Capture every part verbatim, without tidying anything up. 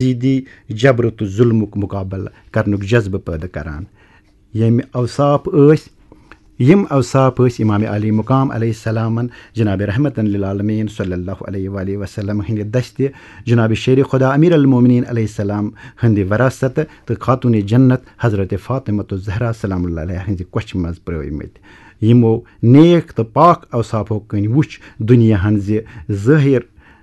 یزیدی جبر تہٕ ظلمُک مقابلہٕ کرنُک جذبہٕ پٲدٕ کران۔ ییٚمہِ اوصاف ٲسۍ یِم اوصاف ٲسۍ امام عالی مقام علیہ السلامن جناب رحمتن للعالمین صلی اللہ علیہ وآلہ وسلم ہٕنٛدِ دستہِ، جناب شیر خدا امیر المومنین علیہ السلام ہٕنٛدِ وراثت تہٕ خاتون جنت حضرت فاطمہ الزہرا سلام اللہ علیہ ہٕنٛزِ کۄچھِ منٛز پرٲومٕتۍ۔ یِمو نیک تہٕ پاک اوصافو کِنۍ وُچھ دُنیاہن زِ ظٲہر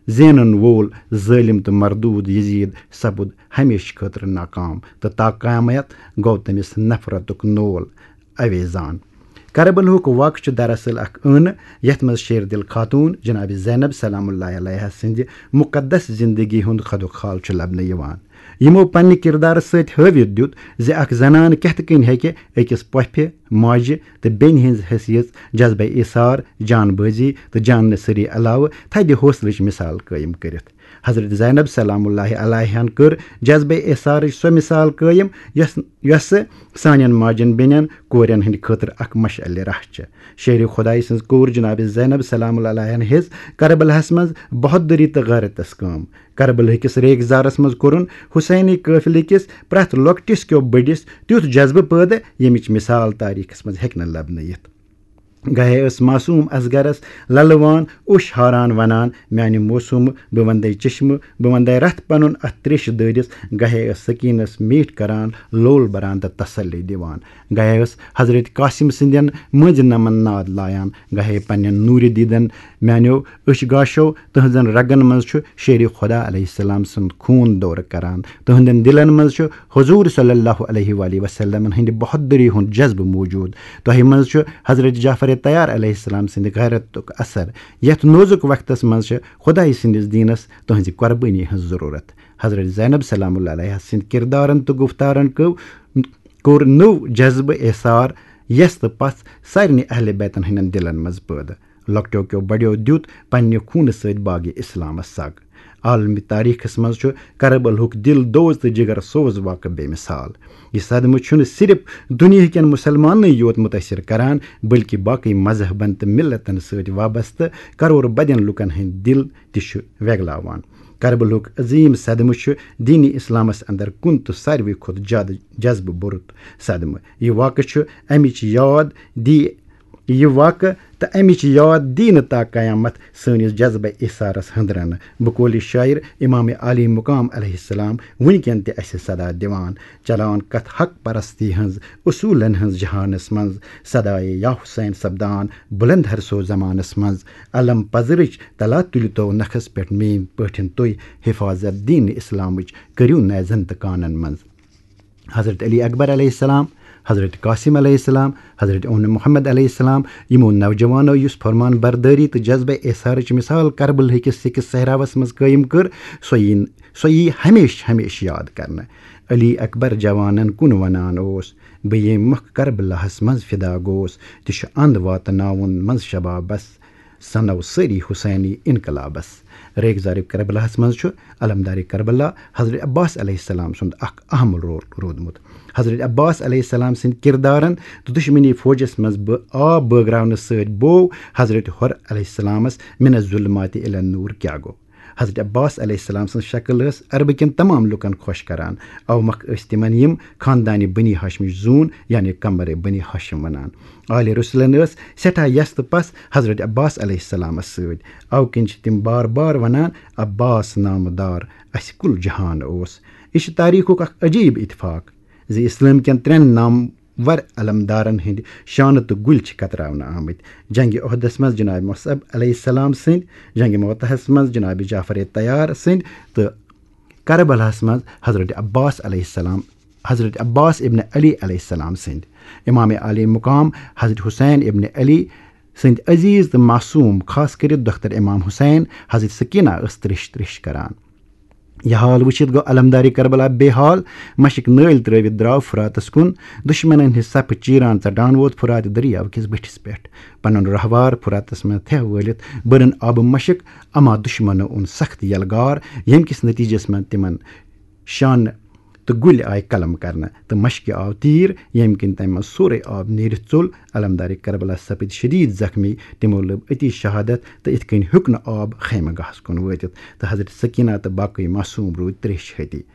زینن وول ظٲلم تہٕ مردود یزید سپُد ہمیشہٕ خٲطرٕ ناکام، تہٕ تا قیامت گوٚو تٔمِس نفرتُک نول اویزان۔ کربلہُک واقعہٕ چھُ دراصل اکھ ٲنہٕ، یتھ منٛز شیر دل خاتون جناب زینب سلام اللہ علیہ سٕنٛدِ مقدس زندگی ہُنٛد خدُک خال چھُ لبنہٕ یِوان۔ یِمو پننہِ کردارٕ سۭتۍ ہٲوِتھ دیُت زِ اکھ زنان کِتھ کٔنۍ ہیٚکہِ أکِس پۄپھِ، ماجہِ تہٕ بیٚنہِ ہٕنٛز حیثیت، جذبہ ایثار، جان بٲزی تہٕ جان نثری علاوٕ تھدِ حوصلٕچ مثال قٲیِم کٔرِتھ۔ حضرت زینب سلام اللہ علیہن کٔر جذبہ ایثارٕچ سۄ مثال قٲیِم، یۄس یۄسہٕ سانٮ۪ن ماجن بیٚنٮ۪ن کورٮ۪ن ہٕنٛدِ خٲطرٕ اکھ مشعلِ راہ چھِ۔ شیر خدائی سٕنٛز کوٗر جناب زینب سلام اللہ علیہن ہیٚژ کربلاہس منٛز بہادری تہٕ غیرتس کٲم۔ کربلہٕ کِس ریگزارس منٛز کوٚرُن حسینی قٲفلہٕ کِس پرٛٮ۪تھ لۄکٹِس کیو بٔڑِس تیُتھ جذبہٕ پٲدٕ، ییٚمِچ مثال تاریخس منٛز ہیٚکہِ نہٕ لبنہٕ یِتھ۔ گاہے ٲس معصوم اصغرس للوان اوٚش ہاران ونان، "میانہِ موسومہٕ، بہٕ وندے چشمہٕ، بہٕ وندے رتھ پنُن اتھ تریشہِ دٲرِس"۔ گاہے ٲس سکینس میٖٹھ کران، لول بران تہٕ تسلی دِوان۔ گاہے ٲس حضرت قاسم سٕنٛدٮ۪ن مٔنٛزۍ نمن ناد لایان۔ گاہے پننٮ۪ن نوٗرِ دیدن میانیو أچھ گاشو تہنٛزن رگن منٛز چھُ شیر خدا علیہ السلام سُنٛد خوٗن دورٕ کران۔ تہنٛدٮ۪ن دلن منٛز چھُ حضور صلی اللہ علیہ وآلہ وسلمن ہٕنٛدِ بہادری ہُنٛد جذبہٕ موجود۔ تۄہہِ منٛز چھُ حضرت جعفر طیار علیہ السلام سٕنٛدِ غیرتُک اثر۔ یتھ نوزُک وقتس منٛز چھِ خدائی سٕنٛدِس دینس تہنٛزِ قربٲنی ہٕنٛز ضرورت۔ حضرت زینب سلام اللہ علیہ سٕنٛدِ کردارن تہٕ گفتارن کٔو کوٚر نوٚو جذبہٕ ایثار یس تہٕ پژھ سارنٕے اہل بیتن ہٕنٛدٮ۪ن دلن منٛز پٲدٕ۔ لۄکٹیو کیو بڑیو دیُت پننہِ خوٗنہٕ سۭتۍ باغِ اسلامس سگ۔ عالمی تاریخس منٛز چھُ کربلہُک دل دوز تہٕ جگر سوز واقعہٕ بے مثال۔ یہِ صدمہٕ چھُنہٕ صرف دُنیاہکٮ۪ن مسلماننٕے یوت متٲثر کران، بلکہِ باقٕے مذہبن تہٕ ملتن سۭتۍ وابستہٕ کرور بدٮ۪ن لوٗکن ہٕنٛدۍ دل تہِ چھُ وٮ۪گلاوان۔ کربلہُک عظیٖم صدمہٕ چھُ دین اسلامس اندر کُن تہٕ ساروی کھۄتہٕ زیادٕ جذبہٕ بوٚرُت صدمہٕ۔ یہِ واقعہٕ چھُ امِچ یاد دی یہِ واقعہٕ تہٕ امِچ یاد دی نہٕ تا قیامت سٲنِس جذبہ ایثارس ہٕنٛدرنہٕ۔ بقولِ شاعر امام عالی مقام علیہ السلام وُنکٮ۪ن تہِ اسہِ صدا دِوان۔ چلان کتھ حق پرستی ہٕنٛز، اصوٗلن ہٕنٛز جہانس منٛز، صدایے یا حسین سپدان بلند ہر سو زمانس منٛز۔ علم پزرٕچ تلا تُلۍ تو نکھس پٮ۪ٹھ میٲنۍ پٲٹھۍ تُہۍ، حفاظت دین اسلامٕچ کٔرِو نیزن تہٕ کانن منٛز۔ حضرت علی اکبر علیہ السلام، حضرت قاسم علیہ السلام، حضرت اون محمد علیہ السلام، یِمو نوجوانو یُس فرمان بردٲری تہٕ جذبہ ایثارٕچ مثال کربلہٕ کِس سِکِس صحراوس منٛز قٲیِم کٔر، سۄ یی سۄ یی ہمیشہٕ ہمیشہٕ یاد کرنہٕ۔ علی اکبر جوانن کُن ونان اوس، "بہٕ ییٚمہِ مۄکھٕ کربلاہس منٛز فدا گوس، تہِ چھُ اند واتناوُن منٛز شبابس، سنو سٲری حسینی انقلابس۔" ریگزار کربلاہس منٛز چھُ علمدار کربلا حضرت عباس علیہ السلام سُنٛد اکھ اہم رول روٗدمُت۔ حضرت عباس علیہ السلام سٕنٛدۍ کردارن تہٕ دشمنی فوجس منٛز بہٕ آب بٲگراونہٕ سۭتۍ بوو حضرت حر علیہ السلامس من الظلمات الی النور کیٛاہ گوٚو۔ حضرت عباس علیہ السلام سٕنٛز شکل ٲس عربہٕ کٮ۪ن تمام لوٗکن خۄش کران۔ اوٕ مۄکھٕ ٲسۍ تِمن یِم خاندانِ بنی ہاشمٕچ زوٗن، یعنی قمر بنی ہاشم ونان۔ آلِ رسولن ٲس سٮ۪ٹھاہ یژھ تہٕ پژھ حضرت عباس علیہ السلامس سۭتۍ۔ اوٕ کِنۍ چھِ تِم بار بار ونان، "عباس نامہٕ دار اسہِ کُل جہان اوس۔" یہِ چھُ تاریخُک اکھ عجیب اتفاق زِ اسلام کٮ۪ن ترٛٮ۪ن نام ور علمدارن ہٕنٛدۍ شانہٕ تہٕ گُلۍ چھِ کتراونہٕ آمٕتۍ۔ جنگِ احدس منٛز جناب مصعب علیہ السلام سٕنٛدۍ، جنگِ موتہس منٛز جناب جعفر طیار سٕنٛدۍ تہٕ کربلاہس منٛز حضرت عباس علیہ السلام، حضرت عباس ابن علی علیہ السلام سٕنٛدۍ۔ امام عالی مقام حضرت حسین ابن علی سٕنٛدۍ عزیز تہٕ معصوم، خاص کٔرِتھ دختر امام حسین حضرت سکینہ ٲس ترٛیش ترٛیش کران۔ یہِ حال وٕچھِتھ گوٚو علمدارِ کربلا بے حال۔ مشک نٲلۍ ترٲوِتھ درٛاو فراتس کُن۔ دشمنن ہٕنٛدۍ صفہٕ چیران ژٹان ووت فرات دٔریاو کِس بٔٹھِس پٮ۪ٹھ۔ پنُن رہوار فراتس منٛز تھٮ۪ہ وٲلِتھ بٔرٕن آبہٕ مشک، اما دشمنو اوٚن سخت یلغار، ییٚمہِ کِس نتیجس منٛز تِمن شانہٕ تہٕ گُلۍ آیہِ قلم کرنہٕ تہٕ مشکہِ آو تیٖر، ییٚمہِ کِنۍ تَمہِ منٛز سورُے آب نیٖرِتھ ژوٚل۔ علمدارِ کربلا سپٕدۍ شدیٖد زخمی، تِمو لٔب أتی شہادت تہٕ یِتھ کٔنۍ ہیوٚک نہٕ آب خیمہٕ گاہَس کُن وٲتِتھ، تہٕ حضرت سکینہ تہٕ باقٕے معصوم روٗدۍ تریشہِ ہتی۔